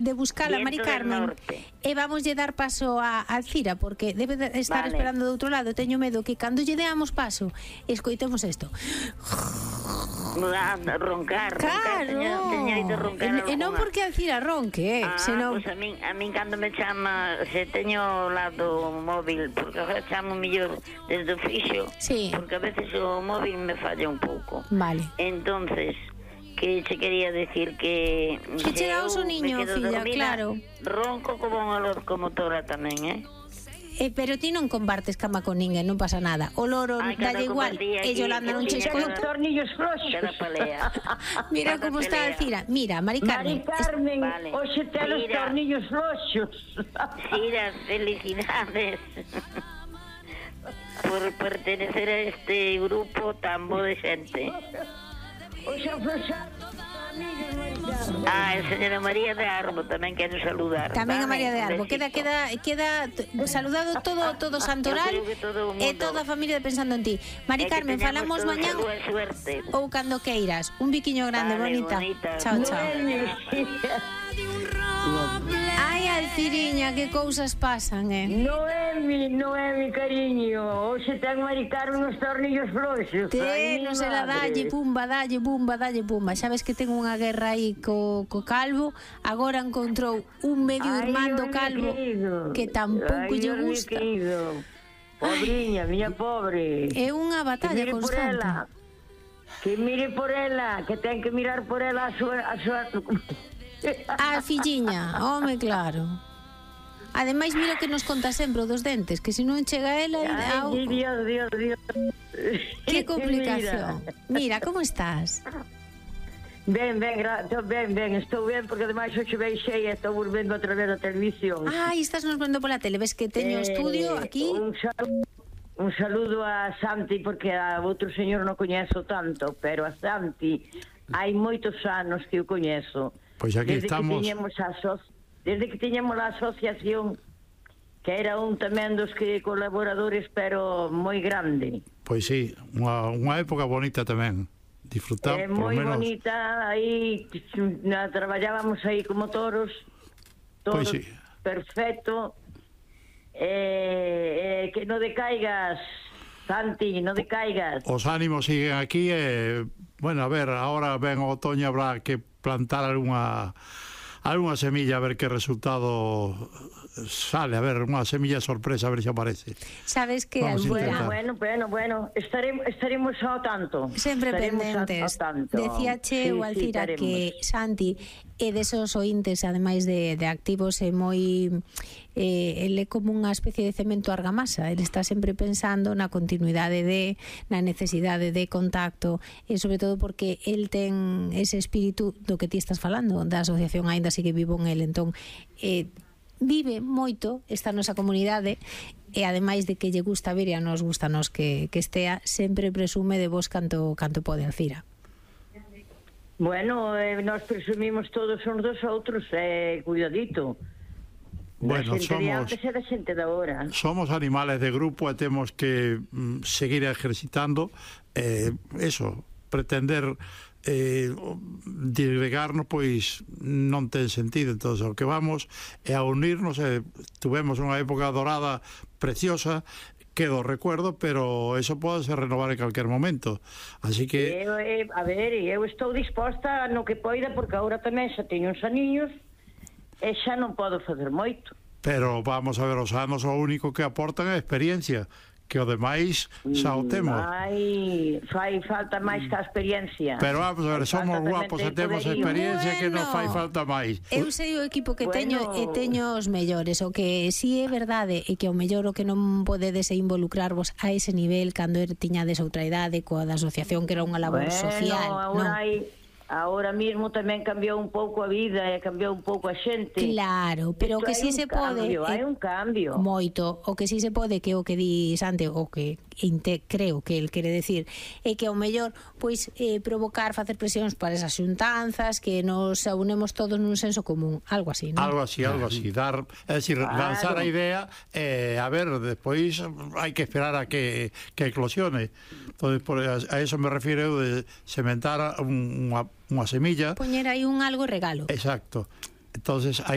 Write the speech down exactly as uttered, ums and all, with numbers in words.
de buscar a Mari Carmen e vamos lle dar paso a Alcira, porque debe de estar vale. esperando do outro lado. Teño medo que cando lle deamos paso escoitemos isto. Roncar, claro. roncar, roncar e, e non porque Alcira ronque, eh, ah, senón... Pues a min, a min cando me chama, se teño ao lado o móvil, porque agora chamo mellor desde o fixo, sí. porque a veces o móvil me falla un pouco. Vale. Entonces, que che quería decir que... Que che dá o niño, filla, dormida, claro. Ronco como unha locomotora tamén, eh? Eh, pero ti non compartes cama con ninguén, non pasa nada. O loro dalle igual, e Yolanda non che escoita. Tornillos floxos. Mira como está Alcira. Mira, Mari Carmen. Mari Carmen, vale. Hoxe ten os tornillos floxos. Sira, felicidades por pertenecer a este grupo tan bo de xente. Hoxe afloxado. Ah, a señora María de Arbo tamén quero saludar. Tamén a María de Arbo. Queda queda queda saludado todo todo Santoral e toda a familia pensando en ti. Mari Carmen, falamos mañá ou cando queiras. Un biquiño grande, vale, bonita. bonita. Chao, chao. Ai, Alciriña, que cousas pasan, eh? Noemi, Noemi, cariño. Hoxe ten Mari Carmen os tornillos floxos. Te, non se la dalle, pumba, dalle, pumba, dalle, pumba. Sabes que ten unha guerra aí co, co Calvo. Agora encontrou un medio irmán do Calvo que tampouco lle gusta. Ai, pobriña, miña pobre. É unha batalla constante. Que mire por ela, que ten que mirar por ela a súa... A súa... A filliña, home, claro. Ademais, mira que nos conta sempre dos dentes, que se non chega ela... Ai, ao... Dios, Dios, Dios. Que complicación. Mira, como estás? Ben, ben, ben, ben, estou ben, porque ademais hoxe veixei e estou volvendo a través da televisión. Ai, estás nos vendo pola tele, ves que teño eh, estudio aquí? Un saludo, un saludo a Santi, porque a outro señor non coñezo tanto, pero a Santi hai moitos anos que o coñezo. Pois aquí desde estamos. Que tiñemos a so... Desde que tiñamos a asociación, que era un tamén dos que colaboradores, pero moi grande. Pois sí, unha, unha época bonita tamén. Disfrutar, eh, por moi menos... bonita, aí na, traballábamos aí como toros, todos, pois sí. Perfecto. Eh, eh, que non decaigas, Santi, non decaigas. Os ánimos siguen aquí e, bueno, a ver, ahora ven o otoño, habrá que plantar algunha algunha semilla a ver que resultado sale, a ver, unha semilla sorpresa a ver se aparece. Sabes que bueno, bueno, bueno, bueno, estaremos estaremos ao tanto. Sempre estaremos pendentes. Ao tanto. Decía che o sí, Alcira sí, que Santi é desos ointes, ademais de, de activos, é moi eh, ele é como unha especie de cemento argamasa. Ele está sempre pensando na continuidade de, na necesidade de contacto, e sobre todo porque el ten ese espírito do que ti estás falando, da asociación, aínda sigue vivo en el. Entón, eh, vive moito esta nosa comunidade, e ademais de que lle gusta vir e a nos gusta nos que, que estea, sempre presume de vos canto, canto pode, Alcira. Bueno, eh, nos presumimos todos uns dos outros, eh, cuidadito. Bueno, somos, xente de ahora. somos animales de grupo e temos que mm, seguir ejercitando eh, eso, pretender eh, disgregarnos, pois non ten sentido. Entón, o que vamos é a unirnos. eh, tuvemos unha época dorada preciosa, quedo recuerdo, pero eso pode ser renovar en calquer momento, así que eu, eh, a ver, eu estou disposta no que poida, porque agora tamén xa teño uns aniños e xa non podo facer moito, pero vamos a ver, os anos o único que aportan é a experiencia, que o demais xa o temos. Ai, fai falta máis que a experiencia. Pero vamos a ver, somos guapos e temos experiencia, bueno, que non fai falta máis. Eu sei o equipo que bueno. teño e teño os mellores. O que si é verdade e que o mellor o que non podedes é involucrarvos a ese nivel cando er tiñades outra idade coa da asociación, que era unha labor bueno, social. Agora non? hai Ahora mismo tamén cambiou un pouco a vida e cambiou un pouco a xente. Claro, pero o que si se pode... Hai un cambio. Moito. O que si se pode, que o que di Sante, o que inte, creo que el quere decir, é que ao mellor pois eh, provocar, facer presións para esas xuntanzas, que nos unemos todos nun senso común. Algo así, non? Algo así, algo así. Dar, é dicir, claro. lanzar a idea, eh, a ver, despois hai que esperar a que, que eclosione. Entonces, por, a, a eso me refiero de sementar unha unha semilla. Poñer aí un algo regalo. Exacto. Entonces, hai